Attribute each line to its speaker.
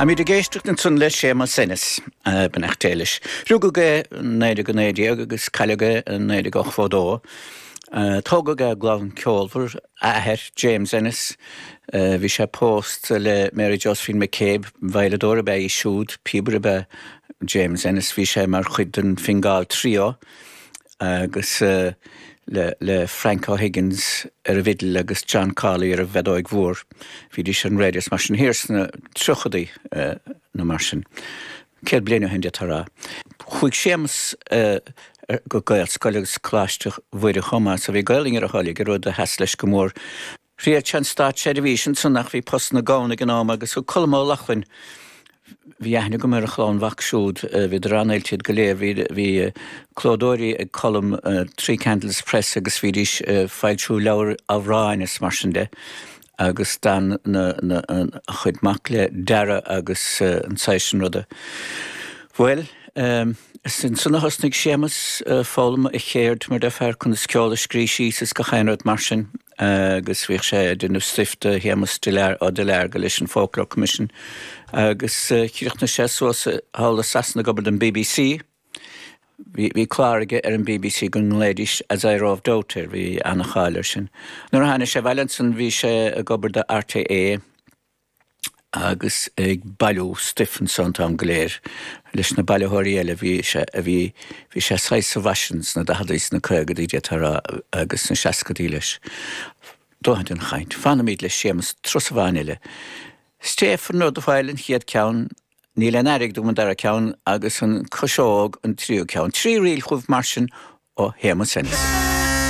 Speaker 1: Táimid ag éisteacht ansan le Séamus Ennis, beannacht Dé leis. Rugadh é i 1919 agus cailleadh é i 1982. Tógadh é i gclann ceolmhar, a athair, James Ennis, bhí sé pósta le Mary Josephine McCabe, veidhleadóir ab ea í siúd, píobaire ab ea James Ennis, bhí sé mar chuid den Fingal Trio agus le le Frank O'Higgins ar an bhfidil agus John Cawley ar an bhfeadóig mhór. Bhídís ar an raidió is mar sin thiar sna tríochadaí nó mar sin. 100 bliain ó shin d'fhéadfá a rá. Chuaigh Séamus go Gaelscoil agus Coláiste Mhuire chomh maith so bhí Gaelainn ar a thoil aige, rud a sheas leis go mór. Thriail sé an státseirbhís ansan ach bhí postanna gann ag an am agus thug Colm Ó Lochlainn, bhí aithne agam ar a chlann mhac siúd, bhíodar an-oilte iad go léir, bhí bhí clódóirí ag Colm, Three Candles Press agus bhídís ag foilsiú leabhair amhráin is mar sin de agus d'fhan na na a chuid mac le dearadh agus an saghas sin ruda. Bhuel, is ansan a thosnaigh Séamus ag foghlaim a cheird mar déarfá conas ceol a scrí síos is gach aon rud mar sin. agus bhíodh sé ag déanamh stuif do Shéamus Ó Duilearga leis an Folklore Commission agus chríochnaigh sé suas thall i Sasana ag obair don bbc. Bhí clár aige ar an bbc go nglaoidís As I Roved Out air, bhí ana-cháil air sin. Nuair a tháinig sé abhaile ansan bhí sé ag obair do RTÉ. agus ag bailiú stuif anso an t-am go léir leis na bailitheoirí eile. Bhí sé, bhí, bhí sé saghas sa bhfaisean sna daicheadaí, sna caogadaí d'fhéadfá a rá agus sna seascadaí leis. Dóthain den chaint. Fanfaimid le Séamus turas amháin eile. Stay for another while an chéad ceann, Níl aon airgead agam an dara ceann agus an Chuiseog an tríú ceann. Trí ríl chugaibh mar sin ó Shéamus Ennis.